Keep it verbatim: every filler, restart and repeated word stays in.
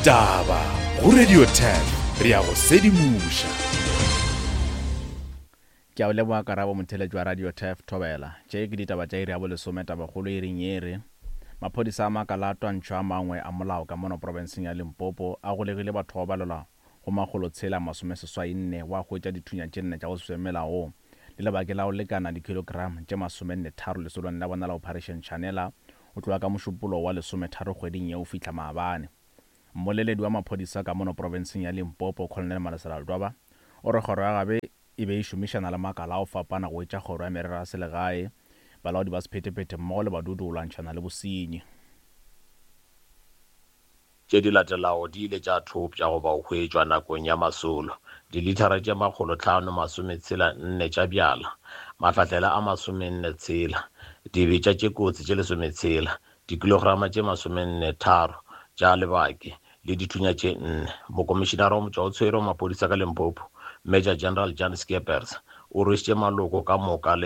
Ditaba go Radio ten re ya go sedimoša. Ke a o leboga Karabo motheletši wa Radio Turf Thobela. Tše ke ditaba tša iri ya bolesome tabakgolo iring ye re maphodisa a makala a twantšho a mangwe a molao ka mono profenseng ya Limpopo a golegile batho ba balelwa go makgolo tshela masome seswai nne wa hwetša dithunya tše nne tša go se melaong le lebake la go lekana dikilogram tše masomenne tharo lesolong la bona la Operation Shanela o tloga ka mošupologo wa lesometharo kgweding ye o fihla maabane. Mmoleledi wa maphodisa ka mono profenseng ya Limpopo Colonel Malesela Ledwaba o re kgoro ya gabe e be e šomišana le makala a go fapana go etša kgoro ya merero ya selegae, balaodi ba sephethephethe mmogo le badudi go lwantšhana le bosenyi. Tše di latelago di ile tša thopša goba go hwetšwa nakong ya masolo, dilithara tše makgolo hlano masome tshela nne tša bjala, mahlahlela a masomenne tshela, dibetša tše kotsi tše lesometshela, dikilograma tše masomenne tharo tša lebake le dithunya tše nne. Mokomišinara wa motšwaotshwere wa maphodisa ka Limpopo, Major General Jan Skeepers, o rwešitše maloko ka moka le